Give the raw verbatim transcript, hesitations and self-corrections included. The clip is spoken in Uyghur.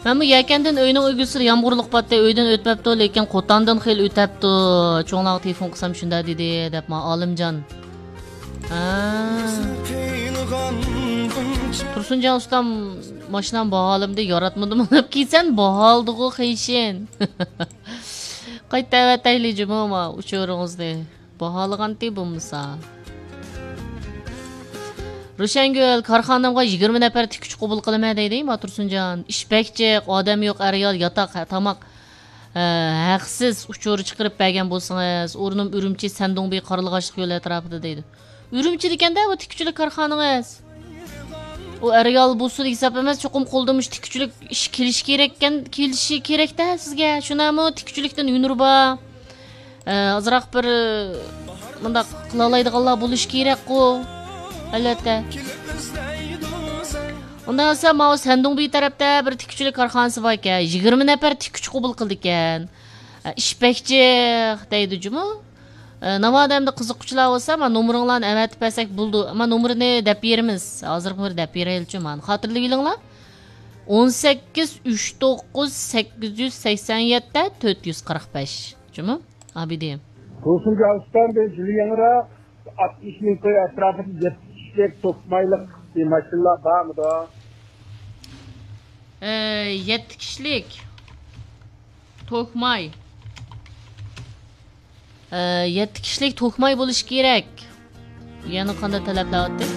مەنمۇ يەكەندىن ئۆينىڭ ئۆگزىسىدە يامغۇرلۇق باتتى، ئۆيدىن ئۆتمەپتۇ، لېكىن قوتاندىن خېلى ئۆتەپتۇ. چوڭلارغا تېلېفون قىلسام شۇنداق دېدى، دەپ ما ئالىمجان. ھە. تۇرسۇنجان ئۇستام، ماشىنام باھالىمدى، ياراتمىدىمۇ دەپ كېلىسەن، باھالىدىغۇ قېشىن. قايتا ئەۋەتەيلى جۇمۇ ما ئۇچۇرىڭىزنى. باھالىغانتى بولمىسا. روشەنگۈل، كارخانامغا يىگىرمە نەپەر تىككۈچى قوبۇل قىلىمەن دەيدۇ، ما تۇرسۇنجان. ئىش بەك جىق، ئادەم يوق، ئەر-ئايال، ياتاق، ھە، تاماق، ھە، ھەقسىز ئۇچۇر چىقىرىپ بەرگەن بولسىڭىز، ئورنۇم ئۈرۈمچى، سەندۇڭبى، قارلىغاچلىق يولى ئەتراپىدا دەيدۇ. ئۈرۈمچىدىكەن-دە بۇ تىككۈچىلىك كارخانىڭىز. ئۇ ئەر-ئايال بولسۇن ھېساب ئەمەس، چوقۇم قولدا مۇشۇ تىككۈچىلىك ئىش كېلىشى كېرەككەن، كېلىشى كېرەكتە سىزگە. شۇنداقمۇ؟ تىككۈچىلىكتىن ھۈنىرى بار. ئە، ئازراق بىر، ئە، مۇنداق قىلالايدىغانلار بولۇشى كېرەكقۇ. ئەلۋەتتە. ئۇنداق بولسا، ماۋۇ سەندۇڭبى تەرەپتە بىر تىككۈچىلىك كارخانىسى باركەن. يىگىرمە نەپەر تىككۈچى قوبۇل قىلىدىكەن. ئە، ئىش بەك جىق دەيدۇ جۇمۇ. ئە، ناۋادا ئەمدى قىزىققۇچىلار بولسا، ما نومۇرۇڭلارنى ئەۋەتىپ بەرسەك بولىدۇ. ما نومۇرىنى دەپ بېرىمىز. ھازىرغا بىر دەپ بېرەيلىچۇ، مانا. خاتىرىلىۋېلىڭلار. ئون سەككىز، ئۈچ توققۇز، سەككىز يۈز سەكسەن يەتتە، تۆت يۈز قىرىق بەش. جۇمۇ؟ ئابىدى. تۇرسۇنجان ئۇستام، بىز يېڭىراق ئاتمىش مىڭ كوي ئەتراپىدا يەتتە كىشىلىك توكمايلىق ماشىنىلار بارمىدۇ؟ ئە، يەتتە كىشىلىك توكماي. ئە، يەتتە كىشىلىك توكماي بولۇشى كېرەك. يەنە قانداق تەلەپلەر ئاتتى؟